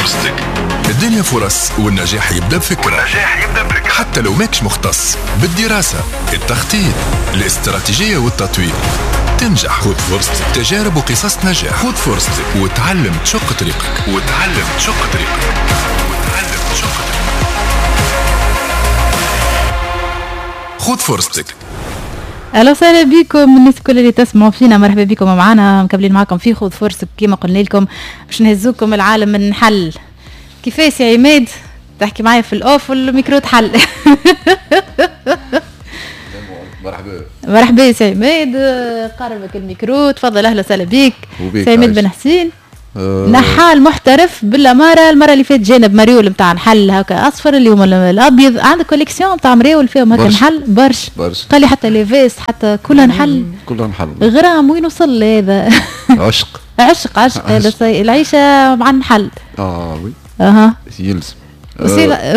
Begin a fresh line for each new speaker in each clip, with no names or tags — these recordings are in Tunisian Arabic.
فرصتك. الدنيا فرص والنجاح يبدأ بفكرة، حتى لو ماكش مختص بالدراسة، التخطيط، الاستراتيجية والتطوير تنجح. خذ فرصتك، تجارب وقصص نجاح. خذ فرصتك وتعلم تشق طريقك، وتعلم تشق طريقك، وتعلم تشق طريقك. خذ فرصتك.
اهلا وسهلا بكم الناس الكل اللي تسمعوا فينا، مرحبا بكم معنا، مكملين معكم في خذ فرصتك. كما قلنا لكم باش نهزوكم العالم النحل. كيفاش يا عماد تحكي معايا في ال off وال micro تحل؟
مرحبا
مرحبا سي عماد، قربك الميكرو، تفضل. اهلا وسهلا بك سي عماد بن حسين. نحال محترف بالاماره. المرة اللي فاتت جانا بمريول نتاع نحل هكا اصفر، اليوم الابيض. عندك collection نتاع مريول فيهم هكا نحل برش
برش.
قال لي حتى les vestes حتى كلها نحل،
كلها نحل.
غرام وين وصل هذا؟
عشق
عشق عشق هذا العيشة مع النحل.
oui
اها
يلزم.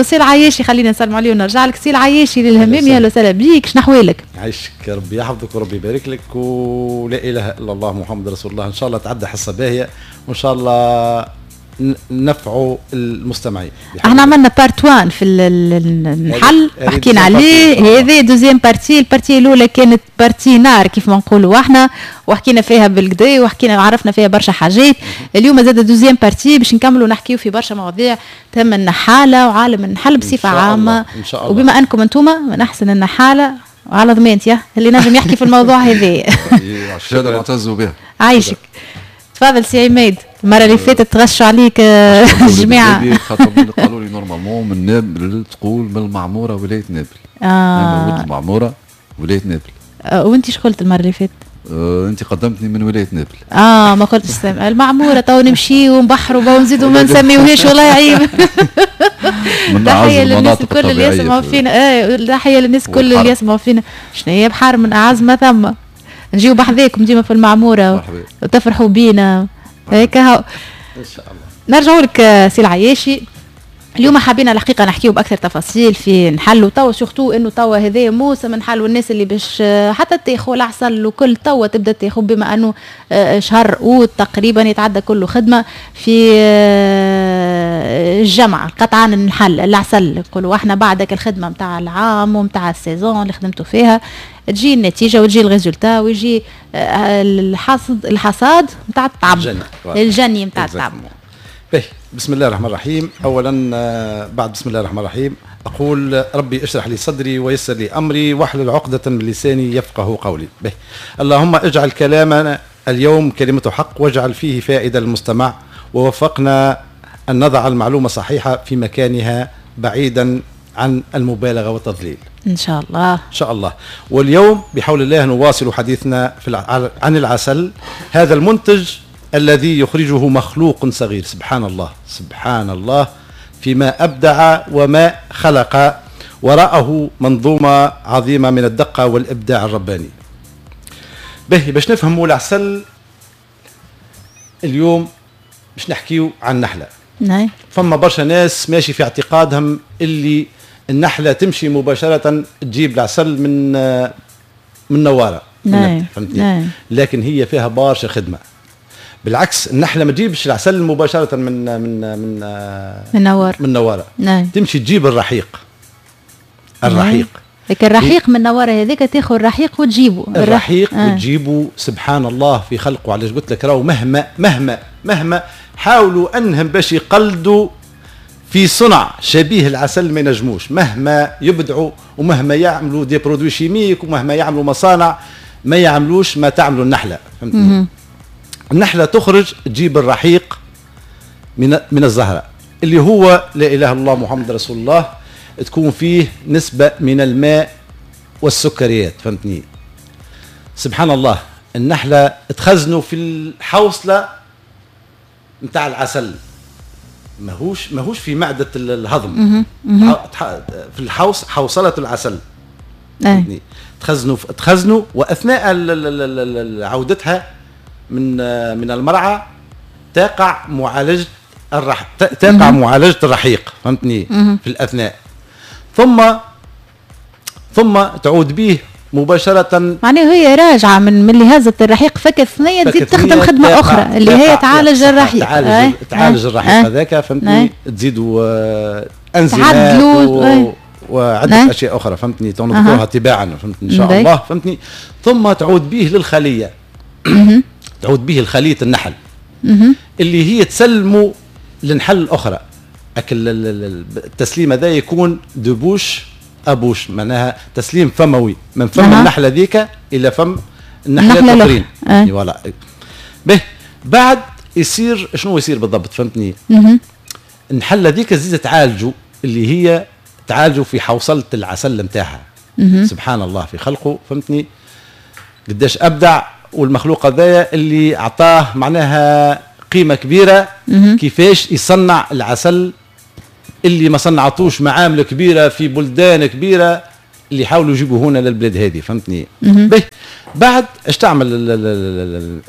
سي العياشي، خلينا نسلم عليه ونرجع لك. سي العياشي للهمامي، اهلا وسهلا بيك، شنو احوالك؟
عايشك، ربي يحفظك وربي يبارك لك، ولا اله الا الله محمد رسول الله. ان شاء الله تعدى حصة باهيه وان شاء الله نفعوا المستمعين.
احنا عملنا part 1 في النحل وحكينا عليه، هذه deuxième partie. ال partie الاولى كانت partie نار كيف ما نقولوا احنا، وحكينا فيها بالكدا وحكينا عرفنا فيها برشا حاجات. اليوم زاد deuxième partie باش نكملوا نحكيو في برشا مواضيع تهم النحاله وعالم النحل بصفة عامة.
إن شاء الله.
وبما انكم انتم من احسن النحاله وعلى ضمانتي اللي نجم يحكي في الموضوع هذا.
شهادة نعتزوا بها.
عايشك. تفضل سي عماد، المرة اللي فاتت تغشوا عليك الجماعة.
خاطر قالوا لي normalement من نابل، تقول من المعمورة ولاية نابل. أنا ولد المعمورة ولاية نابل.
وأنت شو قلت المرة اللي فاتت؟
أنت قدمتني من ولاية نابل.
ما قلتش المعمورة، تو نمشي ونبحروا ونزيدوا ما نسميوهاش، والله عيب. تحية للناس الكل اللي يسمعوا فينا. تحية للناس الكل اللي يسمعوا فينا. شنو هي بحر من أعز ما ثم. نجيو بحذاكم ديما في المعمورة وتفرحوا بينا هيك.
ان شاء الله.
نرجعوا لك سي العياشي. اليوم حابين الحقيقة نحكيو باكثر تفاصيل في نحل، وتوا surtout انه توا هذا موسم نحل، والناس اللي باش حتى تاخذ العسل وكل توا تبدا تاخذ، بما انه شهر اوت تقريبا يتعدى كله خدمة في الجمعة قطعان النحل العسل نقولوا احنا. بعدك الخدمة نتاع العام ونتاع ال saison اللي خدمتوا فيها تجي النتيجة وتجي ال résultat ويجي الحصد، الحصاد نتاع التعب، الجني نتاع التعب.
باهي، بسم الله الرحمن الرحيم. اولا بعد بسم الله الرحمن الرحيم اقول ربي اشرح لي صدري ويسر لي امري واحلل عقدة من لساني يفقه قولي. باهي، اللهم اجعل كلامنا اليوم كلمة حق واجعل فيه فائدة للمستمع، ووفقنا ان نضع المعلومة صحيحة في مكانها بعيدا عن المبالغة والتضليل.
إن شاء الله.
إن شاء الله. واليوم بحول الله نواصل حديثنا في عن العسل، هذا المنتج الذي يخرجه مخلوق صغير. سبحان الله، سبحان الله فيما أبدع وما خلق، وراءه منظومة عظيمة من الدقة والإبداع الرباني. به باش نفهموا العسل اليوم باش نحكيو عن النحلة.
نعم.
فما برشا ناس ماشي في اعتقادهم اللي النحلة تمشي مباشرة تجيب العسل من نوارة.
نعم.
فهمتني؟ نعم. لكن هي فيها برشا خدمة. بالعكس النحلة ما تجيبش العسل مباشرة من من من
من نوارة.
من نوارة.
نعم.
تمشي تجيب الرحيق. الرحيق.
لكن الرحيق من نوارة هذيك تاخذ الرحيق وتجيبه.
الرحيق وتجيبه. سبحان الله في خلقه. علاش قلت لك راهو مهما مهما مهما حاولوا انهم باش يقلدوا في صنع شبيه العسل ما ينجموش، مهما يبدعوا ومهما يعملوا des produits chimiques ومهما يعملوا مصانع ما يعملوش ما تعملوا النحلة. فهمتني؟ النحلة تخرج تجيب الرحيق من الزهرة اللي هو لا اله الا الله محمد رسول الله، تكون فيه نسبه من الماء والسكريات. فهمتني؟ سبحان الله النحلة تخزنوا في الحوصله نتاع العسل، ماهوش في معدة الهضم، في الحوص حوصلة العسل. تخزنوا واثناء عودتها من المرعى تقع معالجة تقع معالجة الرحيق. فهمتني؟ في الاثناء ثم تعود به مباشرة.
معناها هي راجعه من اللي هزت الرحيق فك الثنية تزيد تخدم خدمة اخرى اللي هي تعالج الرحيق،
تعالج الرحيق هذاك، فهمتني؟ تزيدوا انزيمات وعده اشياء اخرى، فهمتني؟ نذكرها تباعا، فهمتني؟ ان شاء الله، فهمتني؟ ثم تعود به للخليه، تعود به لخليه النحل اللي هي تسلمه للنحل الاخرى. اكل التسليم هذا يكون de bouche à bouche، معناها تسليم فموي من فم النحلة ذيك الى فم النحلة الاخرين. voilà. به بعد يصير شنو يصير بالضبط، فهمتني؟ النحلة ذيك تزيد تعالجوا، اللي هي تعالجوا في حوصله العسل نتاعها. سبحان الله في خلقه، فهمتني؟ قداش ابدع، والمخلوق هذايا اللي اعطاه معناها قيمة كبيرة. كيفاش يصنع العسل اللي ما صنعتوش معامل كبيرة في بلدان كبيرة اللي حاولوا يجيبوا هنا للبلاد هذه، فهمتني؟ به بعد اش تعمل،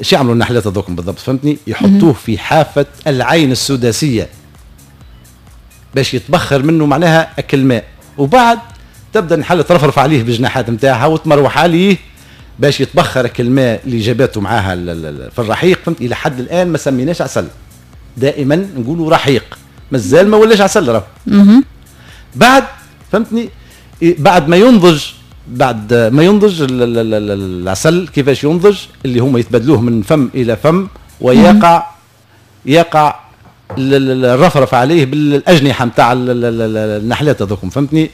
اش يعملوا النحلات هذوكم بالضبط، فهمتني؟ يحطوه في حافة العين السداسيه باش يتبخر منه معناها اكل ماء، وبعد تبدا النحلة ترفرف عليه بالجناحات نتاعها وتمروح عليه باش يتبخر الماء اللي جابته معاها في الرحيق، فهمت؟ الى حد الان ما سميناش عسل، دائما نقولوا رحيق، مازال ما ولاش عسل راه. بعد فهمتني، بعد ما ينضج، بعد ما ينضج العسل، كيفاش ينضج؟ اللي هما يتبادلوه من فم الى فم، ويقع يقع الرفرف عليه بالاجنحه نتاع النحلات هذوكم، فهمتني؟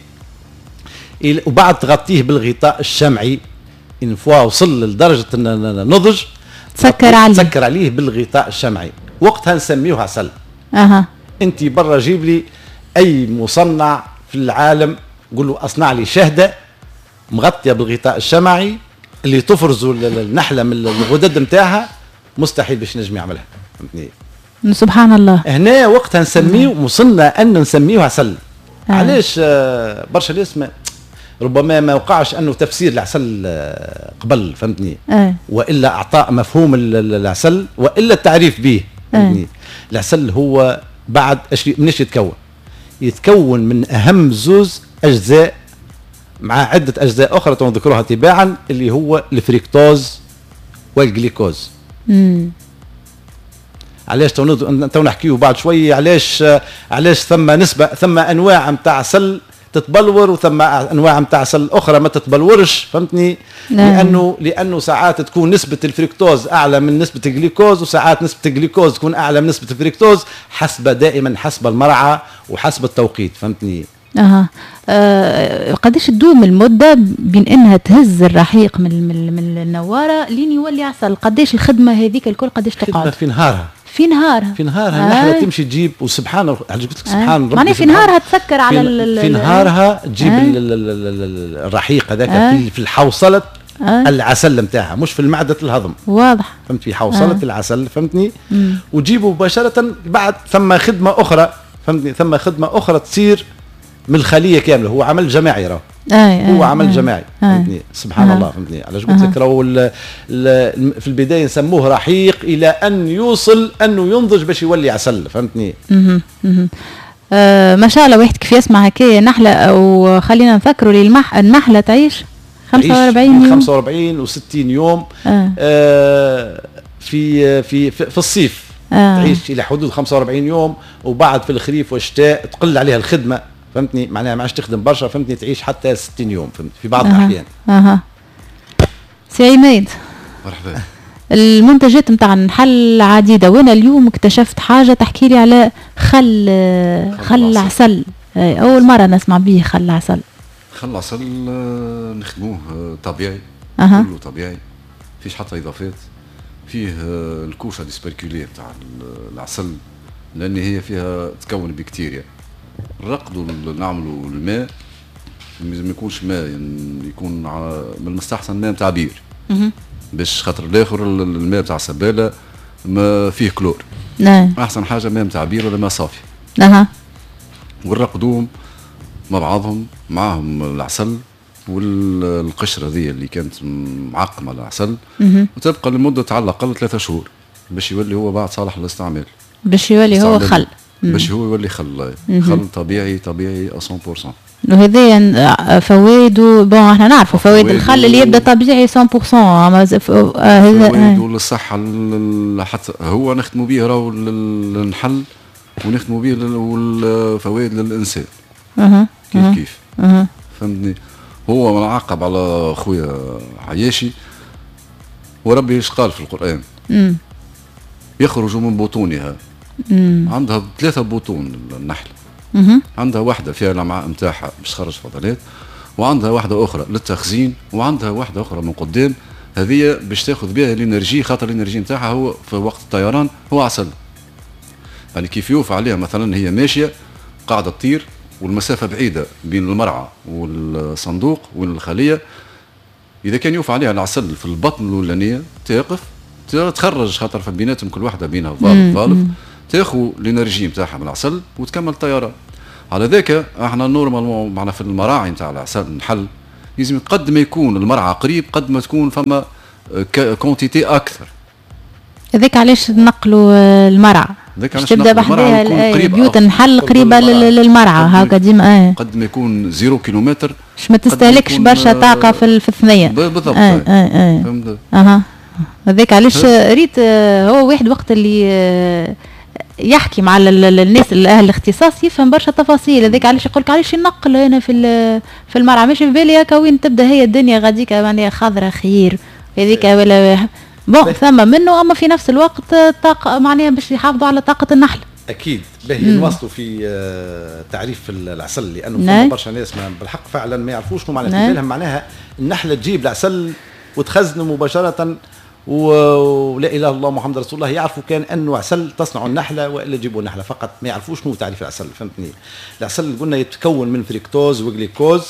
وبعد تغطيه بالغطاء الشمعي. une fois وصل لدرجة النضج
تسكر عليه،
تسكر عليه بالغطاء الشمعي، وقتها نسميه عسل. انت برا جيب لي اي مصنع في العالم قول له اصنع لي شهده مغطيه بالغطاء الشمعي اللي تفرزوا النحلة من الغدد نتاعها، مستحيل باش نجم يعملها، فهمتني؟
سبحان الله.
هنا وقتها نسميه، وصلنا ان نسميه عسل. علاش برشا ناس ربما ما وقعش انه تفسير العسل قبل، فهمتني؟ والا اعطاء مفهوم العسل والا التعريف به، فهمتني؟ العسل هو بعد مناش يتكون؟ يتكون من اهم زوز اجزاء مع عده اجزاء اخرى نذكرها تباعا، اللي هو الفريكتوز والجليكوز. علاش تو نحكيو بعد شوي علاش ثم نسبه، ثم انواع نتاع عسل تتبلور وثم انواع نتاع عسل اخرى ما تتبلورش، فهمتني؟ لانه ساعات تكون نسبه الفركتوز اعلى من نسبه الجليكوز، وساعات نسبه الجليكوز تكون اعلى من نسبه الفركتوز، حسب دائما حسب المرعى وحسب التوقيت، فهمتني؟
قداش تدوم المدة بين انها تهز الرحيق من النواره لين يولي عسل؟ قداش الخدمة هذيك الكل قداش تقعد؟
في نهارها،
في نهارها،
في نهارها النحلة تمشي تجيب، وسبحان الله قلت لك سبحان ربي،
معناها في نهارها تسكر على
في نهارها تجيب الرحيق هذاك في الحوصله العسل نتاعها، مش في المعدة الهضم،
واضح،
فهمت؟ في حوصله العسل، فهمتني؟ وتجيبه مباشرة. بعد ثم خدمة اخرى، فهمتني؟ ثم خدمة اخرى تصير من الخلية كاملة، هو عمل جماعي راه، هو عمل جماعي، فهمتني؟ سبحان الله، فهمتني؟ علاش قلت لك راهو في البداية نسموه رحيق الى ان يوصل انه ينضج باش يولي عسل، فهمتني؟
ما شاء الله، واحد كيف يسمع هكايا نحله، وخلينا نفكروا اللي النحلة تعيش 45 يوم،
45 و60 يوم. في في في الصيف تعيش الى حدود 45 يوم، وبعد في الخريف والشتاء تقل عليها الخدمة، فهمتني؟ معناها ما عادش تخدم برشا، فهمتني؟ تعيش حتى 60 يوم، فهمت؟ في بعض الاحيان.
سي عماد،
مرحبا.
المنتجات نتاع النحل عديدة، وانا اليوم اكتشفت حاجة تحكي لي على خل عسل، اول مرة نسمع به خل عسل.
خل عسل نخدموه طبيعي، كله طبيعي، فيش حتى اضافات، فيه ال couche tuberculée تاع العسل، لان هي فيها تكون بكتيريا. نرقدوا نعملوا الماء، ما يكونش ماء، يعني يكون من المستحسن ماء نتاع بير، باش خاطر الاخر الماء نتاع السباله ما فيه كلور.
نعم.
احسن حاجة ماء نتاع بير ولا ماء صافي. ونرقدوهم مع بعضهم، معاهم العسل والقشره ذي اللي كانت معقمه العسل، وتبقى لمدة على الاقل 3 شهور باش يولي هو بعد صالح للاستعمال،
باش يولي هو خل،
باش هو يولي خل، خل طبيعي، طبيعي 100%.
وهذا فوائده، bon احنا نعرفوا فوائد الخل اللي يبدا طبيعي 100%.
فوائده للصحة، حتى هو نخدموا به راهو للنحل ونخدموا به والفوائد للانسان. كيف كيف. فهمتني؟ هو منعقب على خويا عياشي، وربي ايش قال في القرآن؟ يخرج من بطونها. عندها 3 بطون النحل. عندها واحدة فيها الأمعاء نتاعها باش تخرج فضلات، وعندها واحدة أخرى للتخزين، وعندها واحدة أخرى من قدام هذه باش تاخذ بها l'énergie، خاطر l'énergie نتاعها هو في وقت الطيران هو عسل. يعني كيف يوفى عليها مثلا هي ماشية قاعدة تطير والمسافة بعيدة بين المرعى والصندوق والخلية، إذا كان يوفى عليها العسل في البطن الأولانية تقف تخرج، خاطر في بيناتهم كل واحدة بينها valve valve، تاخذ l'énergie نتاعها من العسل وتكمل الطيران. على ذاك احنا normalement معنا في المراعي نتاع العسل النحل لازم قد ما يكون المرعى قريب قد ما تكون فما quantité اكثر.
هذاك علاش نقلوا المرعى، باش تبدا بحذاها بيوت النحل قريبه للمرعى هكا ديما.
قد ما يكون 0 كيلومتر
باش ما تستهلكش برشا طاقة في الثنية.
بالضبط. فهمت.
هذاك علاش ريت هو واحد وقت اللي يحكي مع الناس الاهل الاختصاص يفهم برشا تفاصيل. هذاك علاش يقول لك علاش نقل هنا في المرعى، ماشي في بالي هكا وين تبدا هي الدنيا غاديك معناها خضرة خير هذيك ولا bon ثم منه، اما في نفس الوقت طاقة معناها باش يحافظوا على طاقة النحل.
اكيد. باهي نواصلوا في تعريف العسل، لانه فما برشا ناس بالحق فعلا ما يعرفوش شنو معناها. في بالهم معناها النحلة تجيب العسل وتخزنه مباشرة ولا اله الا الله محمد رسول الله، يعرفوا كان انه عسل تصنع النحلة والا تجيبوا النحلة فقط، ما يعرفوش شنو تعريف العسل. فهمتني؟ العسل قلنا يتكون من فركتوز وجليكوز،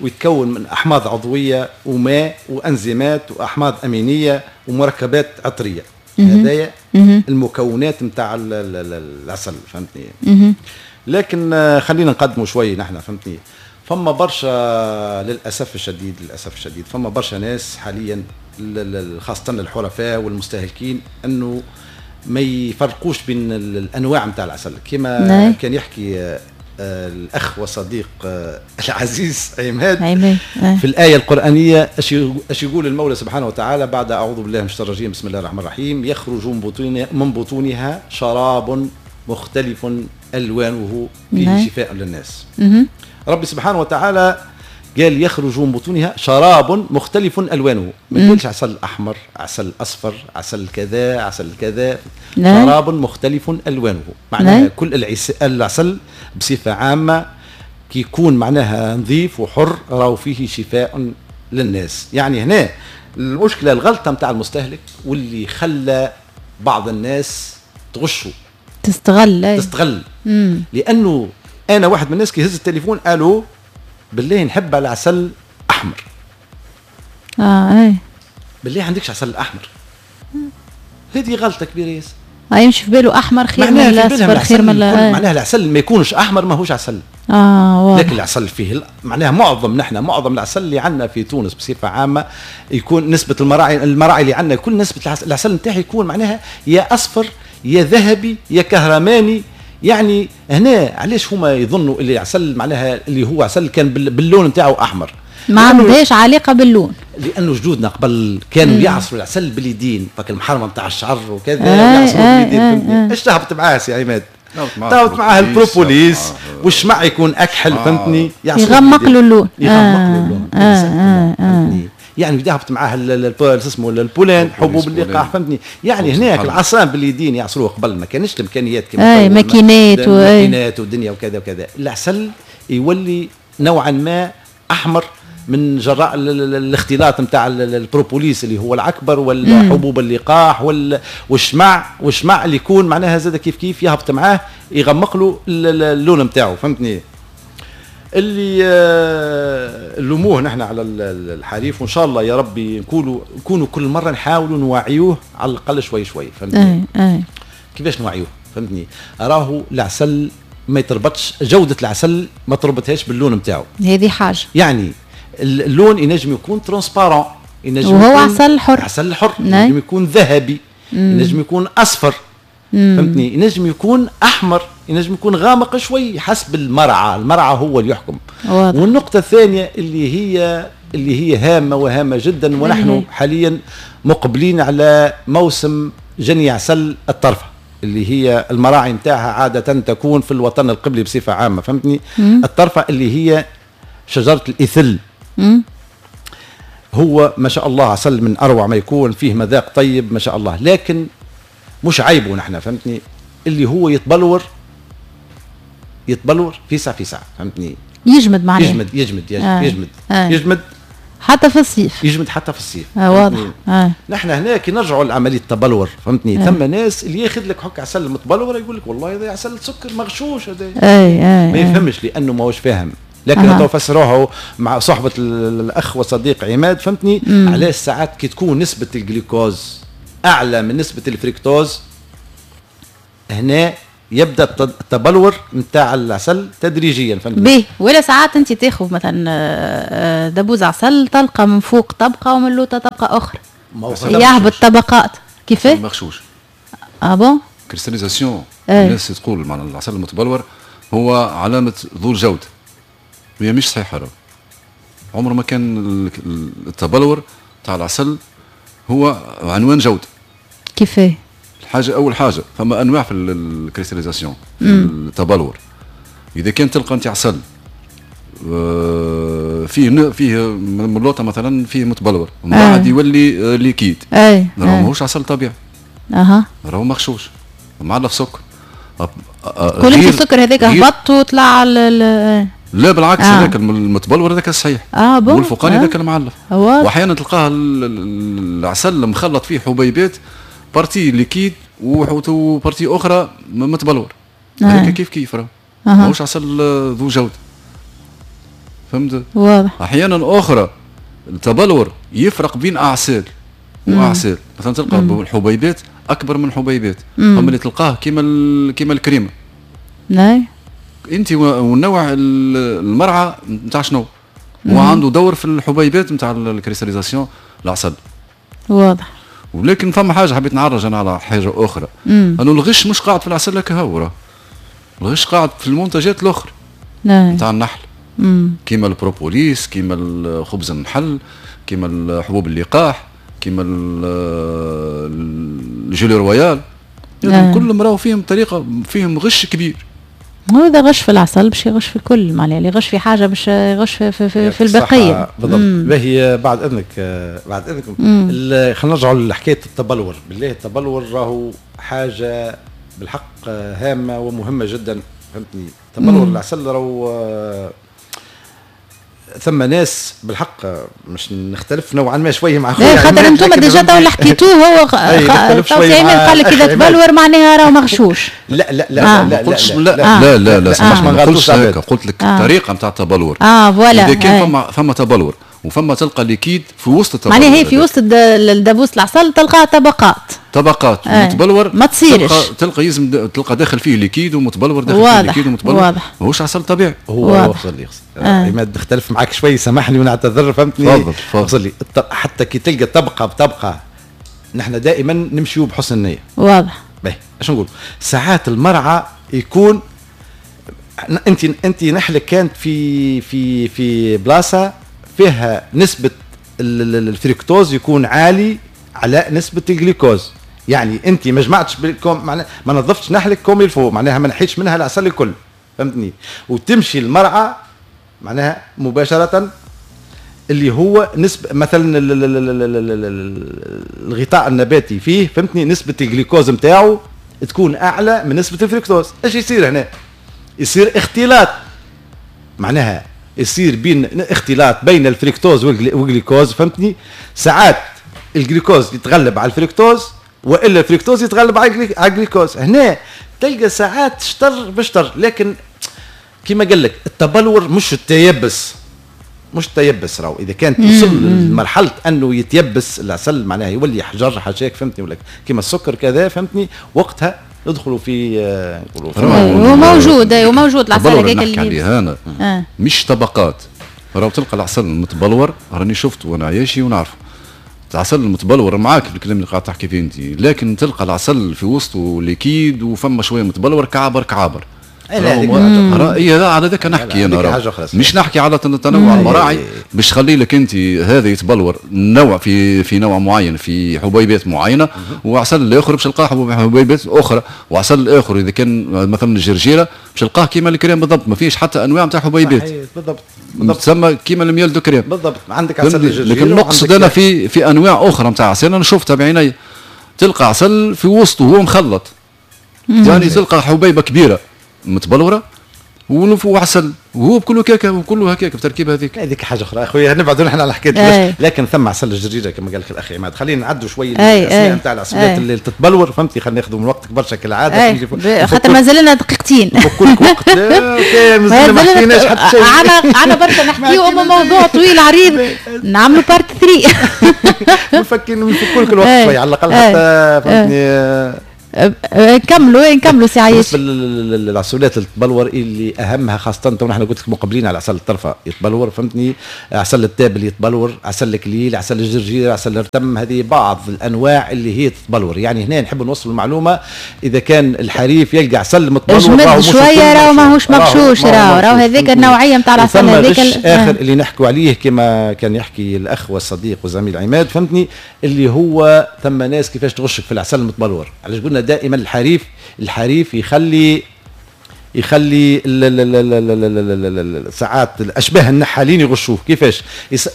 ويتكون من احماض عضوية وماء وانزيمات واحماض امينيه ومركبات عطريه. هذايا المكونات نتاع العسل. فهمتني؟ لكن خلينا نقدموا شوي نحن. فهمتني؟ فما برشا للاسف الشديد، للاسف الشديد فما برشا ناس حاليا خاصة الحرفاء والمستهلكين انه ما يفرقوش بين الانواع نتاع العسل. كما كان يحكي الاخ وصديق العزيز عماد في الايه القرانية، اش يقول المولى سبحانه وتعالى بعد اعوذ بالله من الشيطان الرجيم بسم الله الرحمن الرحيم: يخرج من بطونها شراب مختلف الوانه فيه شفاء للناس. ربي سبحانه وتعالى قال يخرج من بطونها شراب مختلف الوانه، ما يقولش عسل احمر، عسل اصفر، عسل كذا، عسل كذا. شراب مختلف الوانه معناها كل العسل بصفة عامة كي يكون معناها نظيف وحر راهو فيه شفاء للناس. يعني هنا المشكلة الغلطة نتاع المستهلك واللي خلى بعض الناس تغشوا تستغل. لانه انا واحد من الناس كي يهز التليفون الو بالله نحب على عسل احمر.
اي
بالله عندكش عسل احمر. هذه غلطه كبيرة ياسر.
يمشي في باله احمر خير من الاصفر خير من
معناها العسل ما يكونش احمر ماهوش عسل.
واضح.
لكن العسل فيه معناها معظم العسل اللي عندنا في تونس بصفة عامة يكون نسبه المراعي اللي عندنا كل نسبه العسل نتاعي يكون معناها يا اصفر يا ذهبي يا كهرماني. يعني هنا علاش هما يظنوا اللي عسل معناها اللي هو عسل كان باللون نتاعو احمر،
ما عندهاش علاقة باللون،
لانه جدودنا قبل كانوا يعصروا العسل باليدين، فك المحرمة نتاع الشعر وكذا يعصروا باليدين. فهمتني؟ ايش تهبط معاه سي عماد؟ تهبط معاه البروبوليس والشمع يكون اكحل. فهمتني؟
يغمق له اللون،
يغمق له اللون. يعني يهبط معاه اسمه ال pollen، حبوب اللقاح. فهمتني؟ يعني هناك العصام باليدين يعصروه قبل، ما كانش الامكانيات
كما ماكينات
ماكينات ودنيا وكذا وكذا. العسل يولي نوعا ما احمر من جراء الاختلاط نتاع البروبوليس اللي هو العكبر والحبوب اللقاح والشمع اللي يكون معناها زاد كيف كيف يهبط معاه يغمق له اللون نتاعو. فهمتني؟ اللي لموه نحن على الحريف، وان شاء الله يا ربي نكونوا كل مرة نحاولوا نوعيوه على الاقل شوي شوي. فهمتني؟ كيفاش نوعيوه؟ فهمتني؟ راهو العسل ما يتربطش، جوده العسل ما تربطهاش باللون نتاعو.
هذه حاجة.
يعني اللون ينجم يكون transparent، ينجم
وهو عسل حر،
عسل حر، ينجم يكون ذهبي، ينجم يكون اصفر. فهمتني؟ ينجم يكون احمر، ينجم يكون غامق شوي حسب المرعى، المرعى هو اللي يحكم.
واضح.
والنقطة الثانية اللي هي هامة وهامه جدا، ونحن حاليا مقبلين على موسم جني عسل الطرفه اللي هي المراعي نتاعها عادة تكون في الوطن القبلي بصفة عامة، فهمتني؟ الطرفه اللي هي شجرة الاثل. هو ما شاء الله عسل من اروع ما يكون، فيه مذاق طيب ما شاء الله، لكن مش عيبه نحن، فهمتني؟ اللي هو يتبلور في ساعة، فهمتني؟
يجمد معناه
يجمد يجمد يجمد يجمد يجمد
حتى في الصيف،
يجمد حتى في الصيف.
واضح.
نحن هنا كي نرجعوا لعملية التبلور، فهمتني؟ ثم ناس اللي ياخذ لك حك عسل متبلور يقول لك والله هذا عسل سكر مغشوش هذا، ما يفهمش لانه ماهوش فاهم. لكن تو فسروها مع صحبه الاخ وصديق عماد، فهمتني؟ علاش ساعات كي تكون نسبه الجلوكوز اعلى من نسبه الفركتوز هنا يبدا التبلور نتاع العسل تدريجيا، فهمتني؟
باهي. ولا ساعات انت تاخذ مثلا دبوز عسل تلقى من فوق طبقه ومن لوطه طبقه اخرى، يهبط طبقات. كيفاه؟
مغشوش.
ah bon؟
cristallisation. الناس تقول معناها العسل المتبلور هو علامة ذو الجودة، وهي مش صحيحه. راه عمره ما كان التبلور تاع العسل هو عنوان جوده.
كيفاه؟
الحاجة اول حاجة فما انواع في ال cristallisation في التبلور. اذا كان تلقى انت عسل فيه ملوطه مثلا فيه متبلور ومن بعد يولي liquide، راهو ماهوش عسل طبيعي. راهو مغشوش معلف سكر.
كل السكر هذاك هبط وطلع.
لا بالعكس، هذاك المتبلور هذاك الصحيح، والفوقاني هذاك المعلف. واحيانا تلقاه العسل مخلط فيه حبيبات partie liquide و partie اخرى متبلور، هذاك كيف كيف راه ماهوش عسل ذو جوده، فهمت؟
واضح.
احيانا اخرى التبلور يفرق بين اعسال واعسال، مثلا تلقى الحبيبات اكبر من حبيبات، اما اللي تلقاه كيما الكريمة.
نعم.
انت والنوع المرعى نتاع شنو؟ هو عنده دور في الحبيبات نتاع ال cristallisation العسل.
واضح.
ولكن فما حاجة حبيت نعرج انا على حاجة اخرى، انه الغش مش قاعد في العسل هكا، هو الغش قاعد في المنتجات الاخرى نتاع النحل، كيما البروبوليس، كيما خبز النحل، كيما حبوب اللقاح، كيما ال gelée royale، كلهم راهو فيهم طريقه، فيهم غش كبير.
هو اذا غش في العسل باش يغش في الكل، معناها اللي يغش في حاجة باش يغش في البقية.
بالضبط. باهي. بعد اذنك، بعد اذنكم خلينا نرجعوا لحكاية التبلور. بالله التبلور راهو حاجة بالحق هامة ومهمة جدا، فهمتني؟ تبلور العسل راهو ثم ناس بالحق مش نختلف نوعا ما شوية مع خويا،
خاطر انتم déjà تو اللي حكيتوه هو قال لك اذا تبلور معناها راه مغشوش.
لا لا لا لا
لا لا لا لا سامحني، ما قلتش هكا، قلت لك الطريقة نتاع التبلور.
voilà.
اذا كان فما تبلور وفما تلقى liquide في وسط التبلور،
معناها هي في وسط الدبوس العسل تلقى طبقات
متبلور،
ما تصيرش
تلقى يلزم تلقى داخل فيه liquide ومتبلور، داخل فيه liquide ومتبلور، ماهوش عسل طبيعي.
هو وصل لي عماد، نختلف معاك شوي سامحني ونعتذر، فهمتني؟
تفضل تفضل.
لي حتى كي تلقى طبقه بطبقه نحن دائما نمشيو بحسن النية.
واضح.
باهي، اش نقول؟ ساعات المرعى يكون انت نحلك كانت في في في بلاصة فيها نسبة الفركتوز يكون عالي على نسبة الجليكوز، يعني انت ما جمعتش بالكم، معناها ما نظفتش نحلك comme il faut، معناها ما نحيتش منها العسل الكل، فهمتني؟ وتمشي المرعى معناها مباشرة اللي هو نسبة مثلا الغطاء النباتي فيه، فهمتني؟ نسبة الجليكوز نتاعو تكون اعلى من نسبة الفركتوز. ايش يصير هنا؟ يصير اختلاط، معناها يصير بين اختلاط بين الفركتوز والجليكوز، فهمتني؟ ساعات الجليكوز يتغلب على الفركتوز والا الفركتوز يتغلب على الجليكوز. هنا تلقى ساعات شطر بشطر، لكن كما قال لك التبلور مش التيبس، مش تيبس راهو. اذا كانت توصل لمرحلة انه يتيبس العسل معناها يولي حجر حشاك، فهمتني؟ ولا كما السكر كذا، فهمتني؟ وقتها ندخلوا في
نقولوا وموجود وموجود العسل
هذاك اللي انا مش طبقات. راهو تلقى العسل المتبلور، راني شفته وانا عايشي ونعرفه، العسل المتبلور معاك في الكلام اللي قاعد تحكي فيه انت، لكن تلقى العسل في وسطه liquide وفما شوية متبلور كعبر كعابر. اي لا على ذاك نحكي انا، مش نحكي على تنوع المراعي باش تخلي لك انت هذا يتبلور نوع في نوع معين في حبيبات معينة، وعسل الاخر باش تلقاه حبيبات اخرى، وعسل الاخر اذا كان مثلا الجرجيره باش تلقاه كيما الكريم بالضبط، ما فيش حتى انواع نتاع حبيبات.
بالضبط
تسمى كيما ال miel de crème
بالضبط. عندك عسل الجرجيره،
لكن نقصد انا في انواع اخرى نتاع عسل انا شفتها بعيني، تلقى عسل في وسطه هو مخلط، يعني تلقى حبيبه كبيرة متبلوره وعسل وهو بكله كاكا وكله هكاك بتركيب هذيك.
هذيك حاجة اخرى اخويا، نبعدوا نحن على حكاية، لكن ثم عسل الجرجيره كما قال لك الاخ عماد. خلينا نعدوا شوية الاسماء نتاع العسلات اللي تتبلور، فهمتي؟ خلينا ناخذوا من وقتك برشا كالعادة،
خاطر مازال لنا دقيقتين.
نفكوا وقت، لا مازال ما حكيناش حتى شيء،
عنا برشا نحكيو، اما موضوع طويل عريض نعملوا part 3.
نفكوا لك الوقت شوية على الاقل حتى، فهمتني؟
نكملوا سي عايش.
بالنسبة للعسولات اللي تبلور اللي اهمها خاصة تو نحن قلت لك مقبلين على عسل الطرفه يتبلور، فهمتني؟ عسل التابل يتبلور، عسل الكليل، عسل الجرجير، عسل الرتم، هذه بعض الانواع اللي هي تتبلور. يعني هنا نحب نوصل المعلومة، اذا كان الحريف يلقى عسل متبلور
راهو شوية، راهو ماهوش مغشوش، راهو هذيك النوعية نتاع العسل
هذيك. اخر اللي نحكوا عليه كما كان يحكي الاخ والصديق والزميل عماد، فهمتني؟ اللي هو ثم ناس كيفاش تغشك في العسل المتبلور. علاش قلنا دائما الحريف يخلي ساعات الاشباه النحالين يغشوه. كيفاش؟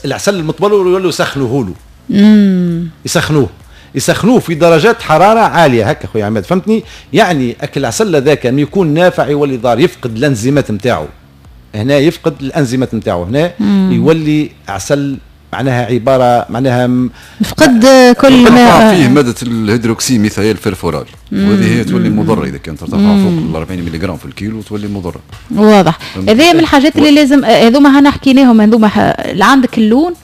العسل المتبلور يولوا يسخنوه له، يسخنوه في درجات حرارة عالية هكا خويا عماد، فهمتني؟ يعني اكل العسل هذاك يكون نافع يولي ضار، يفقد الانزيمات نتاعو هنا، يفقد الانزيمات نتاعو هنا، يولي عسل معناها عبارة معناها
فقد كل ما
فيه مادة ال hydroxyméthylfurfural، وهذه هي تولي مضرة اذا كانت ترتفع فوق ال 40 ملغ في الكيلو تولي مضرة.
واضح. هذه من الحاجات اللي لازم هذوما هنا حكيناهم، هذوما اللي عندك اللون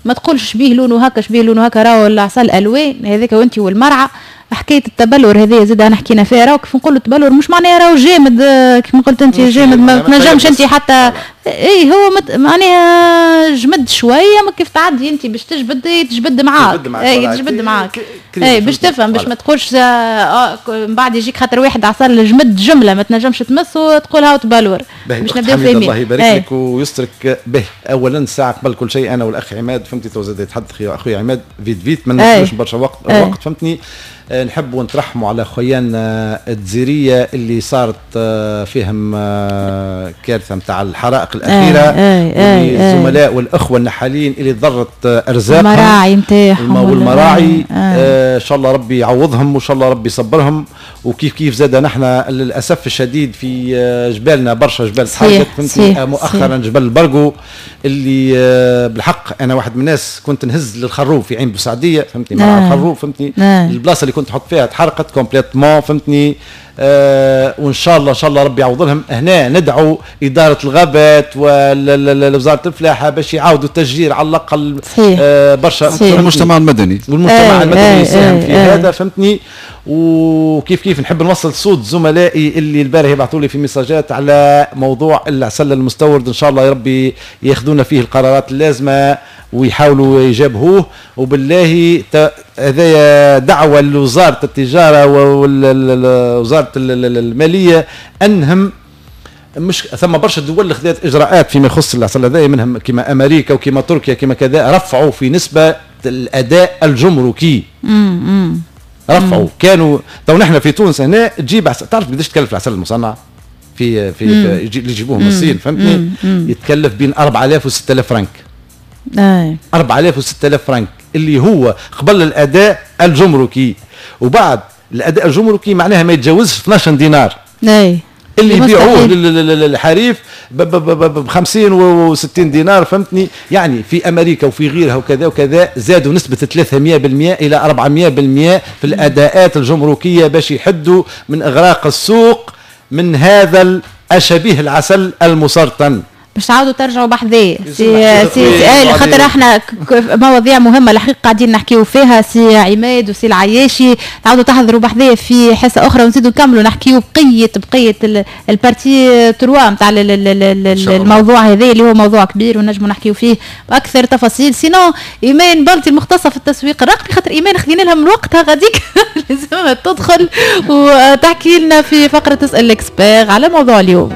ما تقولش شبيه لونه هكا شبيه لونه هكا، راهو العسل الوان هذاك وانت والمرعى. حكاية التبلور هذه زاد انا حكينا فيها، راهو كيف نقولوا التبلور مش معناها راهو جامد كيف قلت انت جامد، ما تنجمش انت حتى اي هو معناها جمد شوية، ما كيف تعدي انت باش تجبد تجبد معاك، اي تجبد معاك، اي باش تفهم، باش ما تقولش من بعد يجيك خاطر واحد عسل جمد جملة ما تنجمش تمس وتقول هاو تبلور.
باش نبداو فاهمين. الله يبارك لك ويسترك به. اولا الساعة قبل كل شيء انا والاخ عماد، فهمتي؟ تو زاد يتحدث اخويا عماد vite vite، ما ناخذوش برشا وقت، فهمتني؟ نحبوا نترحموا على خويانا الجزيريه اللي صارت فيهم كارثة نتاع الحرائق الاخيرة، الزملاء والاخوة النحالين اللي ضرت ارزاقهم،
المراعي نتاعهم
والمراعي، ان شاء الله ربي يعوضهم وان شاء الله ربي يصبرهم. وكيف كيف زاد نحن للاسف الشديد في جبالنا برشا جبال تحركت، فهمتني؟ مؤخرا جبل البرقو اللي بالحق انا واحد من الناس كنت نهز للخروب في عين بوسعديه، فهمتني؟ مع الخروب، فهمتني؟ البلاصة اللي كنت تحط فيها تحرقت complètement، فهمتني؟ وان شاء الله ان شاء الله ربي يعوض لهم. هنا ندعو ادارة الغابات ووزارة الفلاحة باش يعاودوا التشجير على الاقل برشا،
المجتمع المدني،
والمجتمع المدني يساهم في هذا، فهمتني؟ وكيف كيف نحب نوصل صوت زملائي اللي البارح يبعثوا لي في ميساجات على موضوع العسل المستورد، ان شاء الله يا ربي ياخذونا فيه القرارات اللازمة ويحاولوا يجابهوه. وبالله هذايا دعوه لوزارة التجارة ووزارة المالية انهم مش ثم برشا دول خذت اجراءات فيما يخص العسل هذايا، منهم كما امريكا وكما تركيا كما كذا، رفعوا في نسبه الاداء الجمركي. رفعوا. كانوا تو نحن في تونس هنا تجيب عسل، تعرف قداش تكلف العسل المصنع في في اللي يجيبوه من الصين، فهمتني؟ يتكلف بين 4000 و 6000 فرنك. 4000 و 6000 فرنك اللي هو قبل الاداء الجمركي، وبعد الاداء الجمركي معناها ما يتجاوزش 12 دينار. اللي يبيعوه للحريف ب 50 و 60 دينار، فهمتني؟ يعني في امريكا وفي غيرها وكذا وكذا زادوا نسبه 300% الى 400% في الاداءات الجمركيه باش يحدوا من اغراق السوق من هذا الشبيه العسل المسرطن.
باش تعاودوا ترجعوا بحذايا سي سي, سي خاطر احنا مواضيع مهمة الحقيقة قاعدين نحكيو فيها، سي عماد وسي العياشي، تعاودوا تحضروا بحذايا في حصة اخرى ونزيدوا نكملوا نحكيو بقيه ال partie 3 نتاع الموضوع هذا اللي هو موضوع كبير ونجموا نحكيو فيه باكثر تفاصيل. sinon ايمان بلطي المختصة في التسويق الرقمي، خاطر ايمان خذينا لها من وقتها غاديك لازم تدخل وتحكي لنا في فقره تسال l'expert على موضوع اليوم.